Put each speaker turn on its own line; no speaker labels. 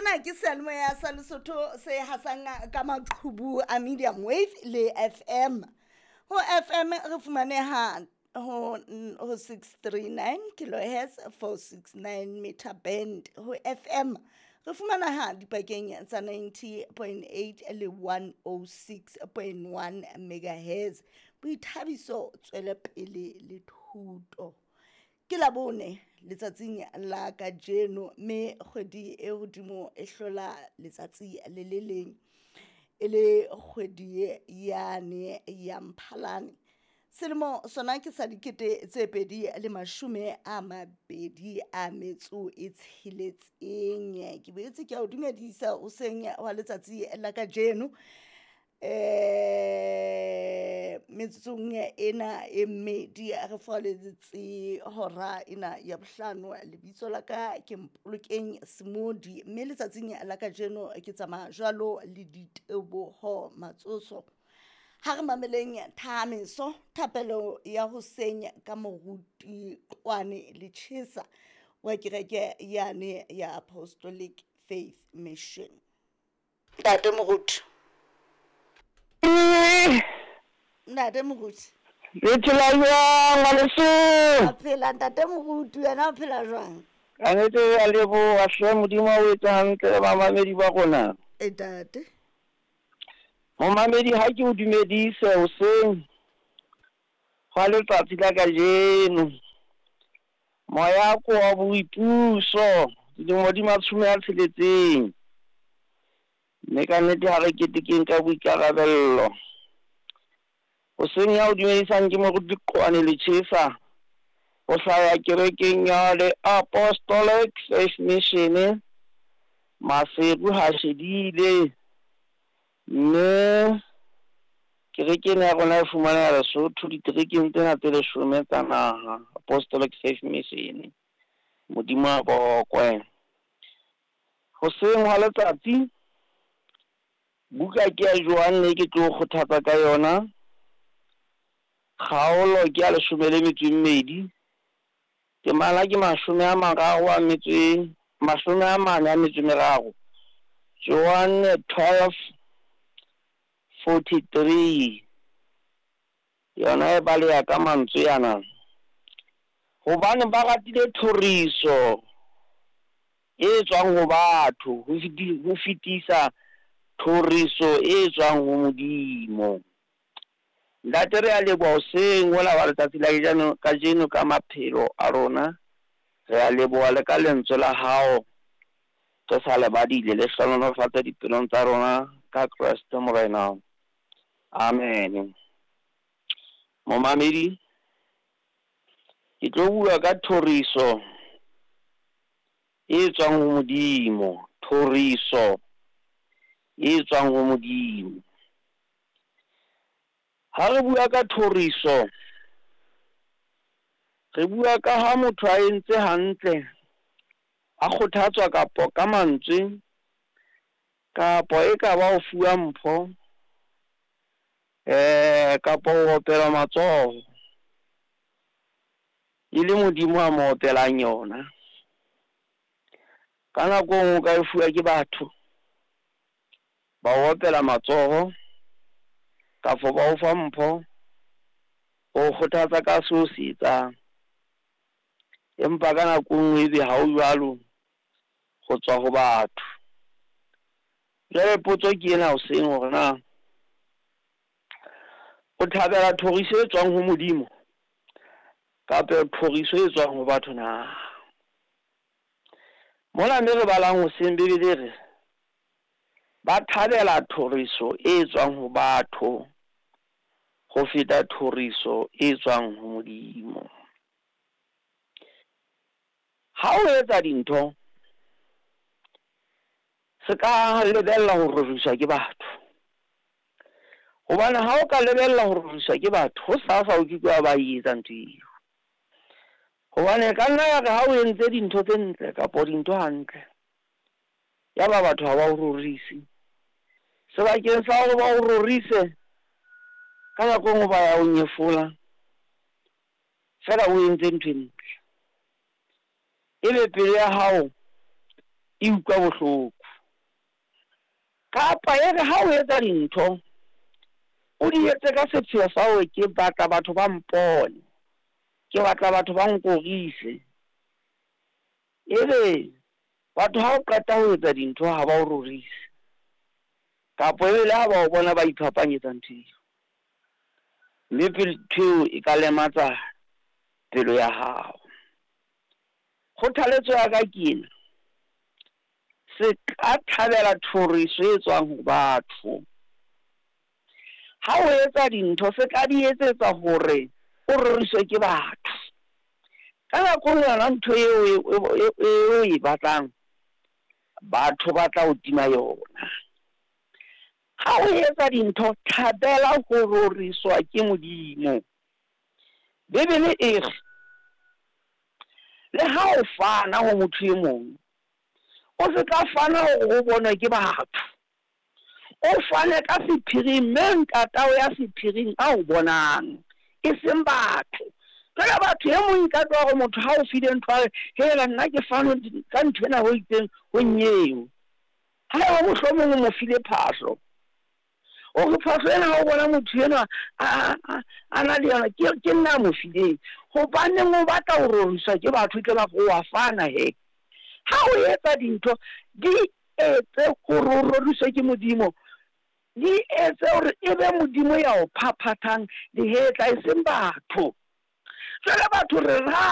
Sena ke seyalemoya sa Lesotho se hasang ka maqhubu a medium wave le FM. Ho FM re fumaneha ho ho 639 kilohertz 469 meter band. Ho FM re fumaneha dipakeng tsa 90.8 le 106.1 megahertz. Boithabiso, tswelepele le thuto. Ke Labone letsatsing la kajeno, mme kgwedi e hodimo e hlola letsatsi le le leng, e le kgwedi yane ya Mphalane. Selemo sona ke sa 2026. Ke boetse ke a o dumedisa hoseng wa letsatsi la kajeno. Metsotsong ena e mmedi re furaletse hora ena ya bohlano. Lebitso la ka ke Mpolokeng Semodi, mme letsatsing la kajeno ke tsamaya jwalo le Diteboho Matsoso. Ha re mameleng thahamiso thapelo ya hoseng ka moruti Qwane Lechesa wa kereke yane ya Apostolic Faith Mission. Ntate moruti. Ntate moruti.
Le phela jwang ngwaneso?
A phela ntate moruti, wena o phela jwang?
Ka nnete re a leboha hle, Modimo a o etse hantle le bamamedi ba rona.
E ntate.
Momamedi ha ke o dumedise hoseng hwa letsatsi la kajeno. Moya ko wa boipuso dilemo di 60. Mme ka nnete ha re ketekeng ka boikarabello. Hoseng ya o dumedisang ke moruti Qwane Lechesa, ho hlaya kerekeng ya the Apostolic Faith Mission, Maseru ha shedile. Mme kereke ena ya rona e fumaneha Lesotho diterekeng tsena tse 10 tsa naha, Apostolic Faith Mission. Modimo a bokwe. Hoseng hwa letsatsi, buka ke ya Johanne ke tlo kgothatsa ka yona. Kgaolo ke ya 12. Temana ke 43. Johanne 12:43. Yona e baleha ka mantswe yana. Hobane ba ratile thoriso e tswang ho batho ho fetisa thoriso e tswang ho Modimo. Ntate re a leboha hoseng hona wa letsatsi la kajeno ka maphelo a rona. Re a leboha le ka lentswe la hao re sa le badile, le hlohonolofatse dipelong tsa rona ka Kreste Morena. Amen. Momamedi, ke tlo bua ka thoriso e tswang ho Modimo, thoriso e tswang ho Modimo. Ha re bua ka thoriso, re bua ka ha motho a entse hantle, a kgothatswa kapo ka mantswe, kapo e ka ba ho fuwa mpho, kapo ho opelwa matsoho, e le Modimo a mo opelang yona. Ka nako e nngwe o ka e fuwa ke batho, ba o opela matsoho, kafo ba o fa mpho, ho kgothatsa ka seo se etsang. Empa ka nako e nngwe ebe ha o jwalo, ho tswa ho batho. Jwale potso ke ena hoseng hore na o thabela thoriso e tswang ho Modimo kapa thoriso e tswang ho batho na? Mona mme re balang hoseng Bibele re ba thabela thoriso e tswang ho batho ho feta thoriso e tswang ho Modimo. Ha o etsa dintho, se ka lebella ho roriswa ke batho. Hobane ha o ka lebella ho roriswa ke batho, ho sasa o ke ke wa ba etsa ntho eo. Hobane ka nna ya re ha o entse dintho tse ntle kapa dintho hantle, ya ba batho ha ba o rorise. Sebakeng sa hore ba o rorise, ka nako e nngwe ba ya o nyefola, feela o entse ntho e ntle. Ebe pelo ya hao e utlwa bohloko. Kapa e re ha o etsa dintho, o di etse ka sepheo sa hore ke batla batho ba mpone, ke batla batho ba nkorise. Ebe batho ha o qeta ho etsa dintho ha ba o rorise, kapa ebe le ha ba o bona ba iphapanyetsa ntho eo. Mme ntho eo e ka lematsa pelo ya hao. Kgothaletso ya ka ke ena, se ka thabela thoriso e tswang ho batho. Ha o etsa dintho se ka di etsetsa hore o roriswe ke batho. Ka nako e yona ntho eo o e batlang, batho ba tla o tima yona. Ha o etsa dintho, thabela ho roriswa ke Modimo. Bibele e re, le ha o fana ho motho e mong, o se ka fana hore o bonwe ke batho. O fane ka sephiring, mme ntatao ya sephiring a o bonang, e seng batho. Jwale batho e mong ka tloha hore motho ha o file ntho a re, hela nna ke fane ka ntho ena ho itseng ho nnyeo. Haeba mohlomong o mo file phahlo, o re phahlo ena ha o bona motho enwa a na le yona, ke nna a mo fileng. Hobaneng o batla ho roriswa ke batho, tle ba re o wa fana he. Ha o etsa dintho, di etse hore o roriswe ke Modimo. Di etse hore e be Modimo ya o phaphathang lehetla, e seng batho. Jwale batho re.